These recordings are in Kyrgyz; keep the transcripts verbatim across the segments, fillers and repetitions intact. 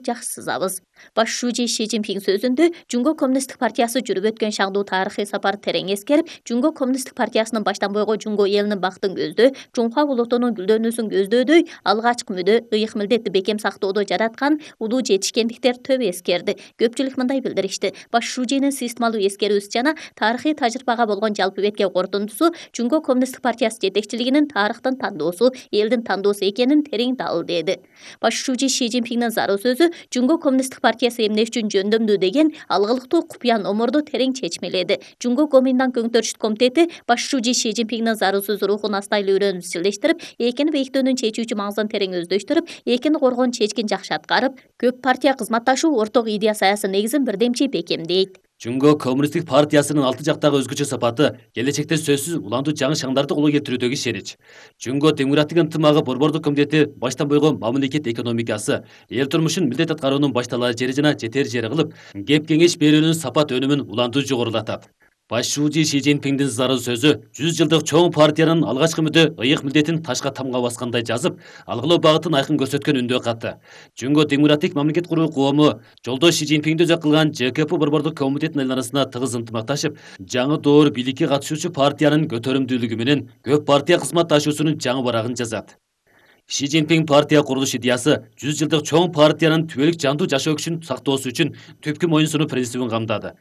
жакшы сызабыз. Баш шүүжи Ши Цзиньпин сөзүндө Жумго Коммунисттик партиясы жүрүп өткөн шаңдуу тарыхый сапар терең эскерип, Жумго Коммунисттик партиясынын баштан бойго Жумго элинин бактын көздөө, Чуңхуа улутунун гүлдөнүүсүн көздөдөй алгачкы мүдө, ыйык милдетти бекем сактоодо жараткан улуу жетишкендиктер төп эскерди. Көпчүлүк мындай билдиришти: баш шүүжинин сыйыстмалуу эскерүүсү жана тарыхый тажрыйбага болгон жалпы бетке корутундусу Жумго Коммунисттик партиясы жетекчилигинин тарыхтын тандоосу, элдин тандоосу экенин терең далилдеди. Баш шүүжи Ши Цзиньпиндин зарыл сөзү Жумго Коммунисттик партиясы эмне үчүн жөндөмдүү деген алгылыктуу купуя номорду терең чечмеледи. Жумго Коминдан Көңтөрүштүк комитети баш шүүжи Ши Цзиньпиндин зарыл сөзү рухун астайлуу үйрөнүп изчилдештирип, экини бейиктөөнүн чечүүчү маңызын терең өздөштүрүп, экини коргоон чечкин жакшы аткарып, көп партия кызматташуу орток идея саясий негизин бирдемчи бекемдейт. Жумго Коммунисттик партиясынын алты жактагы өзгөчө сапаты келечекте сөзсүз уландуу жаңы шаңдарды колго келтирүүдөгү ишенич. Жумго Демократик ынтымагы борбордук комитети баштан бойго мамлекет экономикасы, эл турмушун милдет аткаруунун башталар жери жана жетер жери кылып, кеп кеңеш берүүнүн сапат өнүмүн уландуу жогорулатат. Баш шүүжи Ши Цзиньпиндин зарыл сөзү жүз жылдык чоң партиянын алгачкы мүдө ыйык милдетин ташка тамга баскандай жазып, алгылоо багытын айкын көрсөткөн үндөө каты. Жумго Демократик мамлекет куруу коому жолдош Ши Цзиньпинди өзөк кылган Ж К П борбордук комитетинин арасында тыгыз ынтымакташып, жаңы доор бийликке катышуучу партиянын көтөрүмдүүлүгү менен көп партия кызматташуусунун жаңы барагын жазат. Ши Цзиньпин партия курулуш идеясы жүз жылдык чоң партиянын түбөлүк жандуу жашоо күчүн сактоосу үчүн түпкү моюн сунуу принцибин камдады.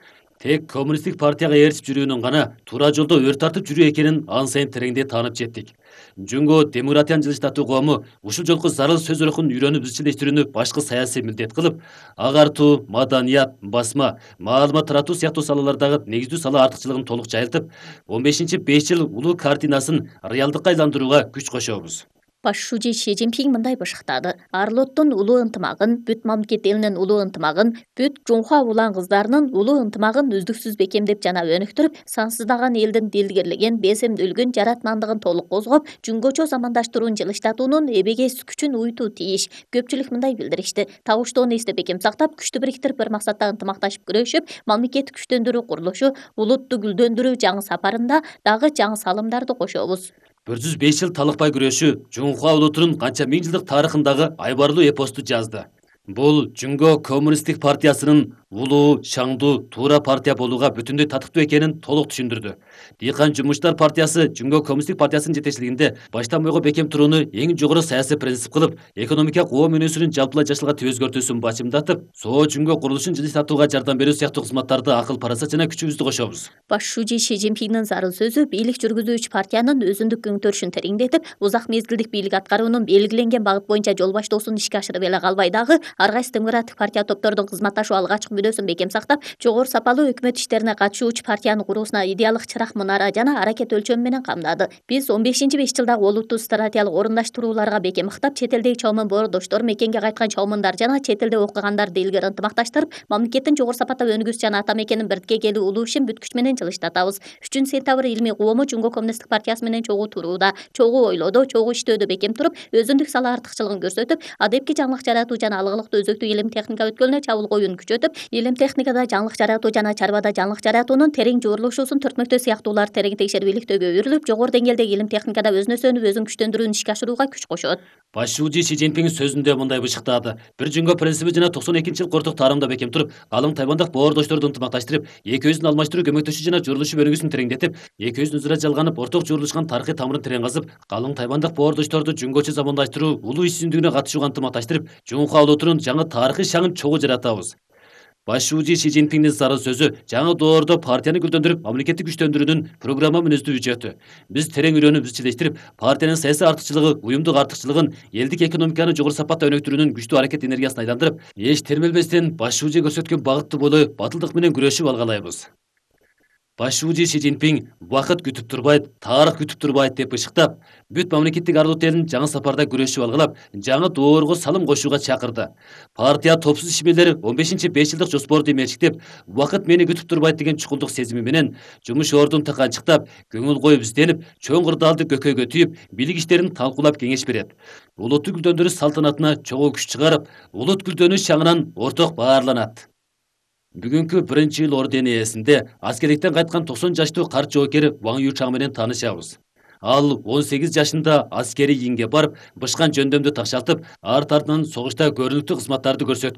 Тек коммунисттик партияга ээрчип жүрүүнүн гана туура жолдо өр тартып жүрүү экенин ан сайын тереңдей таанып жеттик. Жумго Демократиянын жылыштатуу коому ушул жолку зарыл сөз рухун үйрөнүп изчилдештирүүнү башкы саясий милдет кылып, агартуу, маданият, басма, маалымат таратуу сыяктуу салалардагы негиздүү сала артыкчылыгын толук жайылтып, он бешинчи беш жыл улуу картинасын реалдыкка айландырууга күч кошобуз. Баш шүүжи Ши Цзиньпин мындай башыктады: Арлоттун улуу ынтымагын, бүт мамлекет элинин улуу ынтымагын, бүт Чуңхуа улан кыздарынын улуу ынтымагын үздүксүз бекемдеп жана өнүктүрүп, сансыздаган элдин дилгирлигин, беземдүүлүгүн, жаратмандыгын толук козгоп, жумгочо замандаштыруун жылыштатуунун эбегейс күчүн уютуу тийиш. Көпчүлүк мындай билдиришти: табыштоону эстеп бекем сактап, күчтү бириктирип, бир максатта ынтымакташып күрөшүп, мамлекетти күчтөндүрүү курулушу, улутту гүлдөндүрүү жаңы сапарында дагы жаңы салымдарды кошобуз. бир жүз беш жыл талыкпай күрөшүү Чуңхуа улутунун канча миң жылдык тарыхындагы айбарлуу эпосту жазды. Бул Жумго Коммунисттик партиясынын улуу, шаңдуу, туура партия болууга бүтүндөй татыктуу экенин толук түшүндүрдү. Дыйкан жумуштар партиясы Жумго Коммунисттик партиясынын жетекчилигинде баштан бойго бекем турууну эң жогору саясий принцип кылып, экономика коом өнүүсүнүн жалпылай жашылга өзгөртүүсүн бачымдатып, соо Жумго курулушун жылыштатууга жардам берүү сыяктуу кызматтарды акыл парасат жана күчүбүздү кошобуз. Баш шүүжи Ши Цзиньпиндин зарыл сөзү бийлик жүргүзүүчү партиянын өзүндүк көңтөрүшүн тереңдетип, узак мезгилдик бийлик аткаруунун белгиленген багыт боюнча жол баштоосун ишке ашырып эле калбай дагы, ар кайсы демократик партия топтордун кызматташуу алгачкы мүдөөсүн бекем сактап, жогору сапалуу өкмөт иштерине катышуучу партиянын куруусуна идеалдык чырак мунара жана аракет өлчөмү менен камдады. Биз он бешинчи беш жылдагы олуттуу стратегиялык орундаштырууларга бекем ыктап, чет элдеги чоңмун боордоштор, мекенге кайткан чоңмундар жана чет элде окугандарды илгери ынтымакташтырып, мамлекеттин жогору сапатта өнүгүүсү жана ата мекенин бирдикке келүү улуу ишин бүт күч менен жылыштатабыз. үчүнчү сентябрь илмий коому Жумго Коммунисттик партиясы менен чогуу турууда, чогуу ойлоодо, чогуу иштөөдө бекем туруп, өзүндүк сала артыкчылыгын көрсөтүп, адепки жаңылык жаратуу жана алгылыктуу өзөктүү илим техника өткөлүнө чабуул коюуну күчөтүп, илим техникада жаңылык жаратуу жана чарбада жаңылык жаратуунун терең жуурулушуусун төртмөктөө сыяктууларды терең текшерип иликтөөгө үйрүлүп, жогору деңгээлдеги илим техникада өзүн өсөнүп, өзүн күчтөндүрүүнү ишке ашырууга күч кошот. Баш шүүжи Ши Цзиньпин сөзүндө мындай бышыктады: бир Жумго принциби жана токсон экинчи жылкы орток таарымда бекем туруп, калың тайвандык боордошторду ынтымакташтырып, экөөбүздүн алмаштыруу, көмөктөшүү жана журулушуп өнүгүүсүн тереңдетип, экөөбүздүн өзара жалганып, орток журулушкан тарыхый тамырын терең казып, калың тайвандык боордошторду жумгочо замандаштыруу, улуу иш жүзүндүгүнө катышууга ынтымакташтырып, Чуңхуа улутунун жаңы тарыхый шаңын чогуу жаратабыз. Баш шүүжи Ши Цзиньпиндин зарыл сөзү жаңы доордо партияны гүлдөндүрүп, мамлекетти күчтөндүрүүнүн программа мүнөздүү үчөтү. Биз терең үйрөнүп изчилдештирип, партиянын саясий артыкчылыгы, уюмдук артыкчылыгын, элдик экономиканы жогору сапатта өнүктүрүүнүн күчтүү аракет энергиясын айландырып, эч термелбестен баш шүүжи көрсөткөн багытты бойлой батылдык менен күрөшүп алгалайбыз. Баш шүүжи Ши Цзиньпин убакыт күтүп турбайт, тарых күтүп турбайт деп бышыктап, бүт мамлекеттик арлут элин жаңы сапарда күрөшүп алгалап, жаңы доорго салым кошууга чакырды. Партия топсуз ишмерлери он бешинчи беш жылдык жоспорду эмечиктеп, убакыт мени күтүп турбайт деген чукулдук сезими менен жумуш ордун тыканчыктап, көңүл коюп изденип, чоң кырдаалды көкөйгө түйүп, бийлик иштерин талкуулап кеңеш берет. Улутту гүлдөндүрүү салтанатына чогуу күч чыгарып, улут гүлдөнүү шаңынан орток баарланат. Бүгүнкү биринчи эл ордени ээсинде аскерликтен кайткан токсон жаштуу карт жоокер Ваң Ючаң менен таанышабыз. Ал он сегиз жашында аскерий ийинге барып, бышкан жөндөмдү такшалтып, арт артынан согушта көрүнүктүү кызматтарды көрсөткөн.